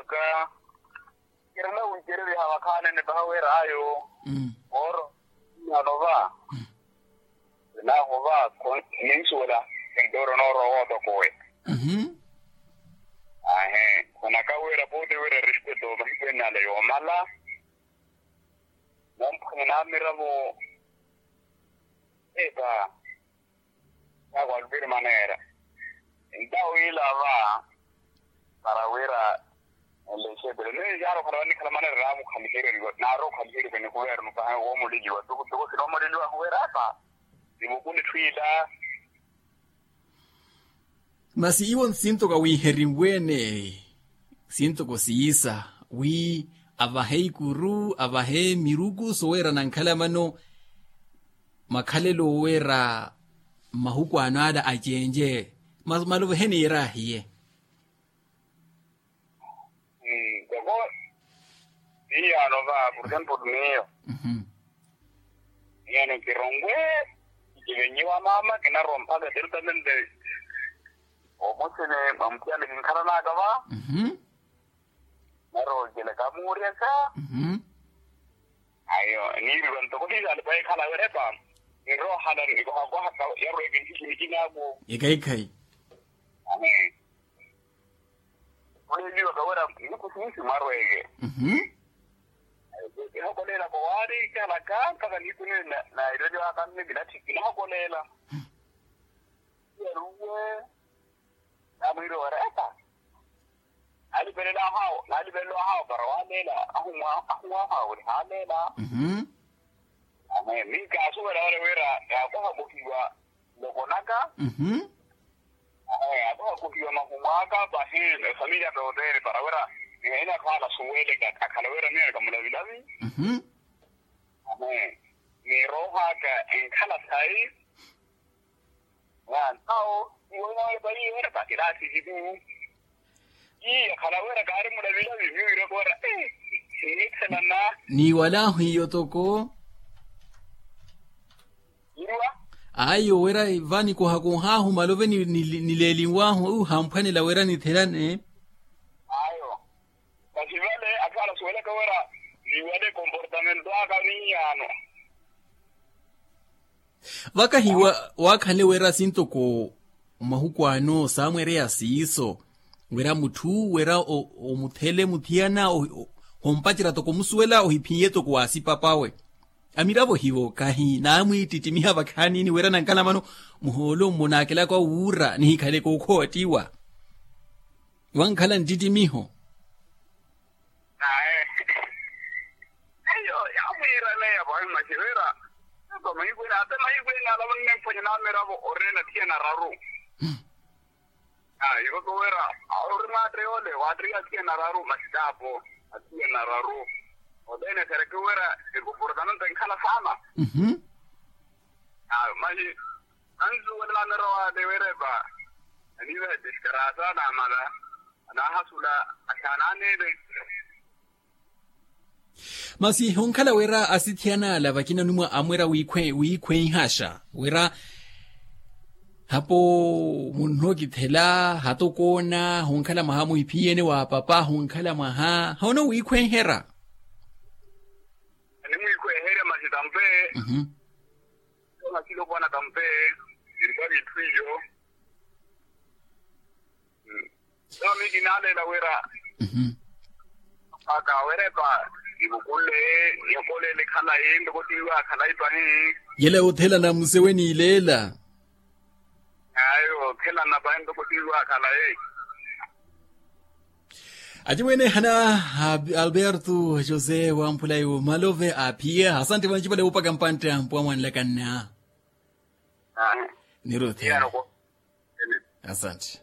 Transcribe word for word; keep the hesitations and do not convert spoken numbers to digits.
Ka kirina wicereriha vakhaanene paha wira ayo. Ooro, nano va, naaho va, ninsuwela, entooro noorowa wootokowe. Ahe, khunaka wira pooti wira respeto mahiku ene ale yoomala. Nomphwene namiravo, eka, yaakwa alupiri maneera. Entawo ila va, para wira enlexepele ni yaari okhala wanikhala maneera naamukhaliheriwa naari okhaliheriwa ni kuvernu paha woomuleliwa tukutuku sinoomuleliwa huwera apa, nivukule etthu ila. Masi iwo nsintoka wiiherinwe-ene, sintoko siisa, wi avahe ikuru avahe miruku soweerana nkhala mano, makhalelo oweera mmahuku ano ala acenje, maluvehe niira ahiye. Ntoko, miyo ano va por example miyo, miyo ano kirongwe, kivenyiwa mama kinarowa mpakha eterutamende, omuthene mwa muthiya nikinkhalanaka va, naroocelaka muuriyaka. Ayo niiriwa ntoko hiisaali paikhala wira epa, niroohala nikohakoha yarweke ntikhinikinaaku. Ekhaikhayi. Amen. Oleliwaka wira nikusiisi mwarweke. Kihakoleelaka owaari kihalaka mpakha niikunene naireliwaka mme kinatthi kinahakoleela. Iyaruwe, namwiiriwa wira epa, naalipelela ahawo naalipelela ahawo para waaleela. Ahuwaha wiri haaleela. Amen. Ni kaasuwela wale wira yaakohakohiwa, nloko naka. Akohakohiwa mahumu aka pahi efamiliya tooteene para wira niheene akhala asuweleke akhala wira miyo nikamulavilavi. Amen. Ni rooho aka enkhala sayi. Ntawo iwo inawepa iwo ena pakiraasi hiku. Iya khala wira kaari mulavilavi miyo wiraka wira. Sinithelana. Niiwalahu iyo toko. Ayo wira va nikohakohahu malove nileelinwahu hamphwanela wira nithelane. Ayo kasi vale akhala suwelaka wira niwale komportamento aka miyaano. Vakahi waakhanle wira sintoko mmahuku ano saamwereya siiso, wira mutthu wira omuthele muthiyana, hompacerya toko omusuwela ohiphiye toko waasipapawe. Amiravo hivo kahi naamwiittittimiha vakhaanini wira nankhala mano, muhoolo mmo naakelaka wuura nihikhale kookhootiwa. Wankhala nttittimiho. Ayo yaamwiiraneya vawe mwaci wira, ata mahiku ene ata mahiku ene ala vannempwanya namiravo orina thiyana raru. Ayo ivaka wira, ori mwaatta yoole waattiya thiyana raru masi taapo, athiyana raru. Othene sereke wira ekomportamento enkhala saana. Ayo masi ansuwela namiravo ale wira epa, aniivaha diskarasa namala, anaahasula axaana aneele. Masi honkhala wira asithiyana ala vakina onimwa amwira wiikhwenhaxa wira, hapo munno kithela hatokoona honkhala mwaha muhiphiyene wa papa honkhala mwaha hono wiikhwenhera. Animwiikhwenherya masi tampe. Masi lokwana tampe, sintari itthu iyo. Nto miyo kinaaleela wira aka wira epa nivukulle, nihokoleele khalayi ntoko tiiwa khalayi pahi. Yela yoothelana muse weniileela. Ayo yoothelana pahi ntoko tiiwa khalayi. Acimwene ehana, alberto josé wamphulayi omalove aphiye asantte vancipale woopaka mpantte ampuwa mwanlakanna. Niruthela. Asantte.